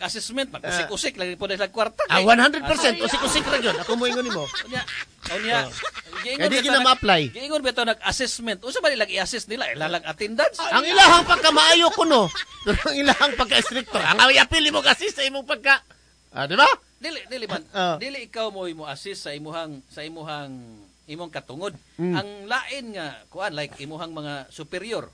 Assessment mag-usik-usik lagi po na sila kwarta. Ah, 100% usik-usik ra gyud. Ako moingon nimo. Unya, unya. Giingon Kaya di bitaw gina ma-apply. Giingon bitaw nag-assessment. Unsa ba nilang i-assess nila? Ila lang attendance. Ang ilahang pagkamaayo kuno, pero ang ilahang pagka-stricto. Ang apil mo kasi sa imong pagka. Ah, di ba? Dili dili man. Dili ikaw mo mo assist sa imuhang imong katungod. Ang lain nga kuan, like imuhang mga superior.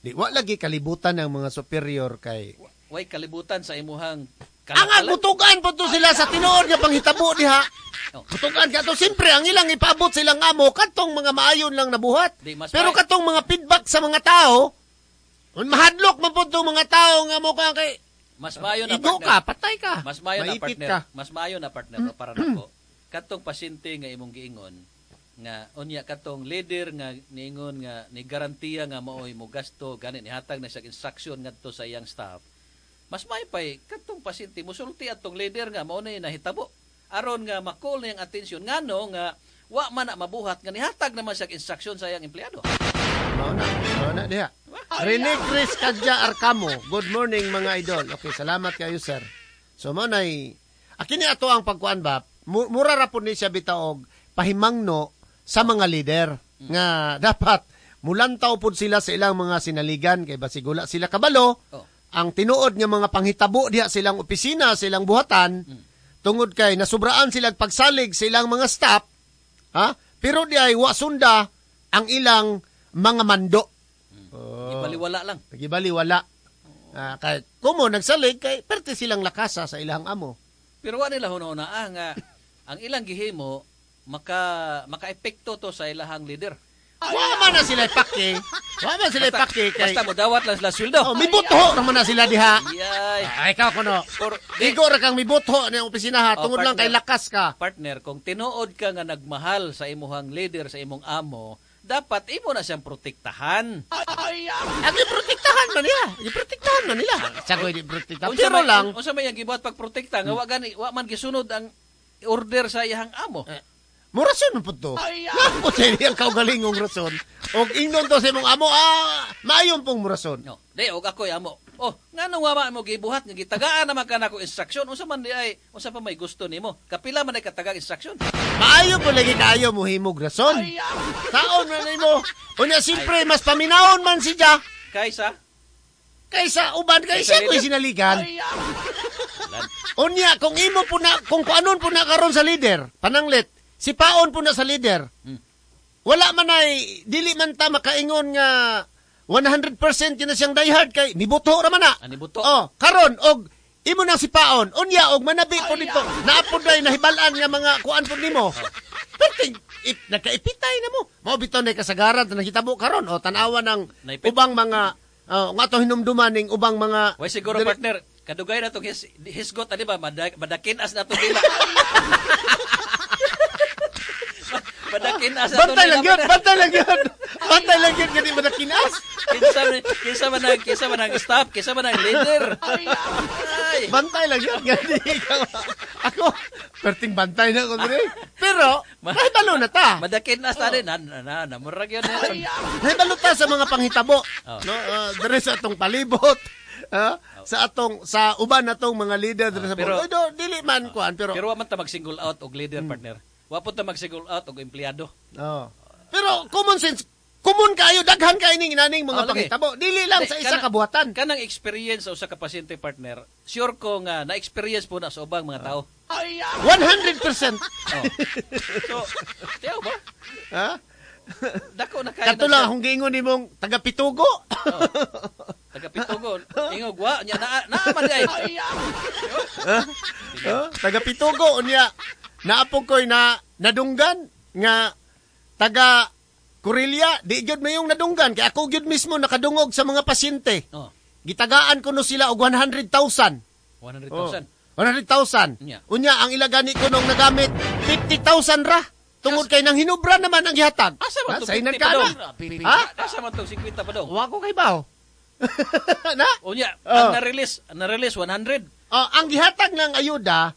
Di wa lagi kalibutan ng mga superior kay Way kalibutan sa imuhang Ang kalakalan. mutugan po to sila sa tinuod nga panghitabo diha. Oh. Mutugan ka to, siyempre ang ilang ipaabot silang amo katong mga maayon lang nabuhat. Di, mas Pero katong mga feedback sa mga tao, mahadlok man po tong mga tao nga mo ka kay Mas maayo na, igo partner. ka, patay ka. Mas maayo na, Maipit partner. ka. Mas maayo na, partner, no, para nako. Katong pasyente nga imong giingon nga unya katong leader nga niingon nga ni garantiya nga maoy mo gasto gani, nihatag na siya instruction ngadto sa iyang staff. Mas maayo pay katong pasyente musulti atong leader nga mao na nahitabo aron nga ma-call na iyang atensyon ngano nga wa man na mabuhat nga nihatag naman siya instruction sa iyang empleyado. Mao na, mao na diha. Rene Chris Kadja Arcamo. Good morning, mga idol. Okay, salamat kayo, sir. So mo nay akini ato ang pagkuan ba? Mura ra pud ni siya bitaw og pahimangno sa mga leader nga dapat mulantaw pud sila sa ilang mga sinaligan kay basig wala sila kabalo ang tinuod nga mga panghitabo diha silang opisina, silang buhatan, tungod kay nasubraan sila pagsalig sa ilang mga staff, ha? Pero di ay wa sunda ang ilang mga mando. Oh. Ibaliwala lang. Gibaliwala. Ah, kay kumo nagsalig kay perte silang lakasa sa ilang amo. Pero wa nila hunahuna nga ang ilang gihimo maka maka-epekto to sa ilahang leader. Wa man na sila pake. Wa man sila pake kay Basta mo dawat lang sila sweldo. Oh, mibuto naman na sila diha. Yay. Ay, ikaw kuno. Or, di, Igo ra kang mibuto ni opisina ha, Oh, tungod lang kay partner. lakas ka. Partner, kung tinuod ka nga nagmahal sa imuhang leader, sa imong amo, dapat imo na siyang protektahan. Ang giprotektahan man niya. Giprotektahan man nila. Sagoy di protektahan. Unsa Pero lang, unsa may ang gibuhat pagprotekta nga wa gani wa man gisunod ang order sa iyang amo? Eh, murason man pud to. Nga sa iyang kaugalingong rason. Og ingnon to sa imong amo, ah, maayon pong murason. No. Di og ako'y amo. Oh, ngano wa ma mo gibuhat nga gitagaan naman ka nako instruction? Unsa man di ay unsa pa may gusto nimo? Kapila man ay katagag instruction? Maayo po lagi kaayo mo himog rason. Taon man nimo. Unya siyempre mas paminawon man siya Kaysa kaysa uban kay Kaysa siya ko'y leader. sinaligan. Unya kung imo po na kung kuanon po na karon sa leader, pananglit, si paon po na sa leader. Wala man ay dili man ta makaingon nga 100% yun na siyang diehard kay nibuto ra man na. Ah, nibuto. Oh, karon og imo nang sipaon, unya og manabi po dito. Naa pod day nahibal-an nga mga kuan pod nimo. Pero nakaipitay na mo. Mao bitaw na kasagaran na nakitabo karon o tan-awa ng Naipit. ubang mga nga to hinumduman ning ubang mga Way siguro, partner, kadugay na tong hisgot ani ba madakin as na to dila. Madakin as na to Bantay nila, lang yun, partner. Bantay lang yun. Bantay lang yun, gani madakinas. Kinsa man ang staff, kinsa man ang leader. Ay. Bantay lang yun, gani ikaw. Ako, perting bantay na ako dire. Pero, nahibalo na ta. Madakin as tani na na na, na murag yun. Eh. Nahibalo ta sa mga panghitabo. Oh. No, dire sa atong palibot. Sa atong sa uban natong mga leader dire sa Pero- Oy, dili man kuan pero Pero wa man ta mag-single out og leader, partner. Wa po ta mag-single out og empleyado. Oh. Pero common sense, common kayo daghan kay ning inaning mga Oh, lagi. panghitabo. Dili lang sa Di, isa ka buhatan. Kanang experience sa usa ka pasyente, partner, sure ko nga na-experience po na sa ubang mga tao. 100%. Oh. So, tiyaw ba? Ha? Dako na kayo. Kato lang akong giingon nimong taga Pitugo. Oh. Taga Pitugo. Ingog wa nya na naa man di ay. Ha? Taga Pitugo unya naapog ko'y na nadunggan nga taga Kurilya, di gyud mayong nadunggan kay ako gyud mismo nakadungog sa mga pasyente. Oh, Gitagaan ko no sila og 100,000. 100,000. 100,000. Unya. Unya ang ilagani ko nung nagamit 50,000 ra. Tungod kay nang hinubra naman ang gihatag. Asa man Ha, to sa inan 50 ka pa na. dong? Ha? Asa man tong 50 pa dong? Wa ko kay baw. Na? Unya, Oh. ang na-release 100. Oh, ang gihatag ng ayuda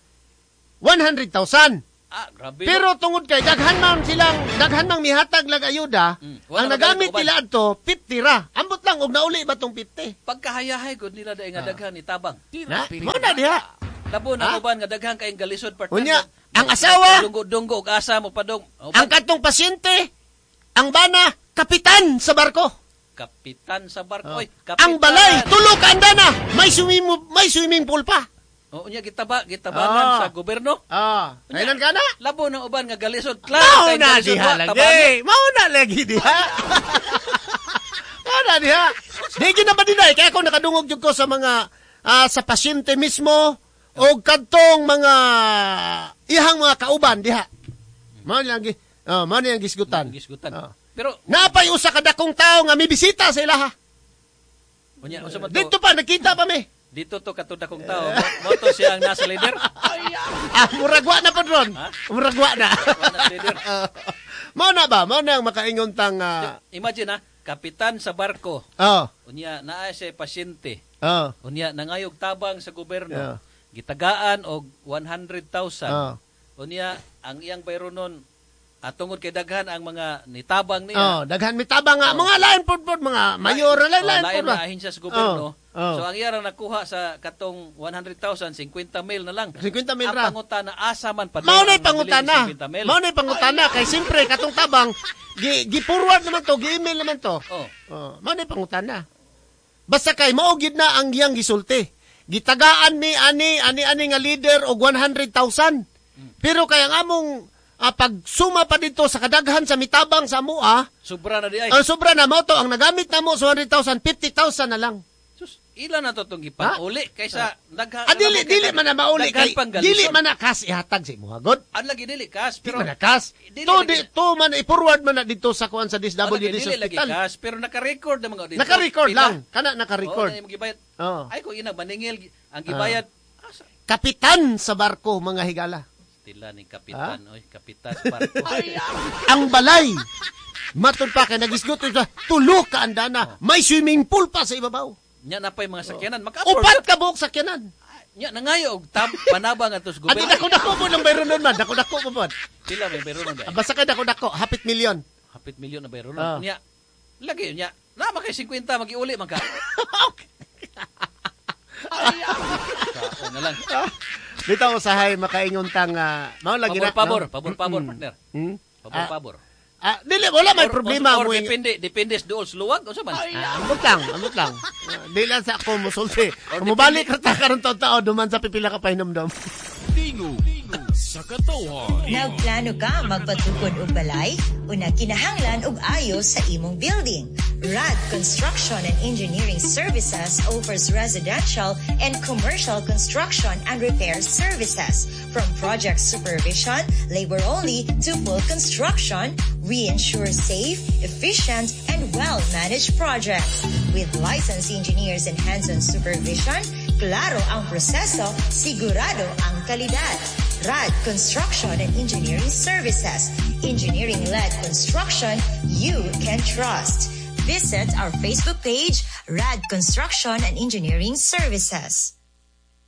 100,000. Ah, grabe. Pero tungod kay daghan man silang daghan mang mihatag lag ayuda, Wala ang na nagamit magalit nila adto 50 ra. Ambot lang og nauli ba tong 50. Pagkahayahay gud nila dai nga daghan ni tabang. Na, mao na diha. Labo na uban nga daghan kayong galisod, partner. Unya, ang asawa, Dunggo-dunggo og asa mo padong. Ang katong pasyente, ang bana, kapitan sa barko. Kapitan sa barko. Oy, kapitan. Ang balay, tulo ka andana, may swimming pool pa. O, unya gitabangan sa gobyerno. Kailan ka na? Labo na uban nga galisod. Klaro Mao kayong na galisod diha wa, lagi. tabangan. Mao na lagi diha. Mao na diha. Di gyud na ba dinay kay ako nakadungog jud ko sa mga sa pasyente mismo o kadtong mga ihang mga kauban diha. Mao na lang mao na ang gisgutan. Gisgutan. Pero Pero napay usa ka dakong tawo nga mibisita sa ilaha. Unya unsa man to? Dito pa nakita pa mi. Dito to katong dakong tao. Mo to siya ang nasa leader. Murag wa na pod ron. Murag wa na. Wa na leader. Mao na ba? Mao na ang makaingon tang Imagine kapitan sa barko. Unya naa siya pasyente. Unya nangayog tabang sa gobyerno. Gitagaan og 100,000. Unya ang iyang bayronon tungod kay daghan ang mga nitabang niya. Daghan mitabang nga mga lain pod mga mayor, lain lain Lain pod ba. na ahensya sa gobyerno. Oh. So ang iya ra nakuha sa katong 100,000, 50 mil na lang. 50 mil Ang ra. pangutana asa man pa. Mao na'y pangutana. Mao na'y pangutana kay siyempre katong tabang gi-forward naman to, gi-email naman to. Mao na'y pangutana. Basta kay mao gid na ang iyang gisulti. Gitagaan mi ani ani ani nga leader og 100,000. Pero kay ang among pagsuma pa dito sa kadaghan sa mitabang sa amoa, Sobra na di ay. Ang sobra na mao to ang nagamit namo sa 100,000, 50,000 na lang. Sus, ila na to tong gipauli kaysa daghan. Dili dili man na mauli daghan kay pang galisod. dili man na kas ihatag sa imuha god. Ang lagi dili kas Di pero man na kas. Dili To lagi- di to man i-forward man na dito sa kuan sa Ang lagi DSWD dili lagi hospital. kas pero naka-record na mga dito. Naka-record Pila? lang. Kana naka-record. Oo, na imong gibayad. Oo. Ay kung ina maningil ang gibayad. Kapitan sa barko mga higala. Tila ni kapitan, oy, kapitan sa barko. Ang balay. Matud pa kay nagisgot sa tulo ka andana, may swimming pool pa sa ibabaw. Nya na pa'y mga sakyanan, maka-afford. Upat ka buok sakyanan. Nya nangayo og tab panabang ato sa Ati gobyerno. dako-dako po ng bayronon man, dako-dako po po. Pila may bayronon ba? Basta kay dako-dako, hapit milyon. Hapit milyon na bayronon. Nya lagi nya na kay 50 magiuli man ka. Okay. Sao na lang. Dito usahay makaingon tang mao lagi na. Pabor, no? pabor, pabor, partner. Hmm? Pabor, pabor. Dili wala may problema or mo. depende sa duol sa luwag unsa man. Ambot lang, ambot lang. Di lang sa ako musulti. Mubalik ra ta karon taon duman sa pipila ka pahinomdom. Tingog sa katawhan. Nagplano ka magpatukod og balay? Una kinahanglan og ayo sa imong building. RAD Construction and Engineering Services offers residential and commercial construction and repair services. From project supervision, labor only, to full construction, we ensure safe, efficient, and well-managed projects. With licensed engineers and hands-on supervision, klaro ang proseso, sigurado ang kalidad. RAD Construction and Engineering Services. Engineering-led construction you can trust. Visit our Facebook page, RAD Construction and Engineering Services.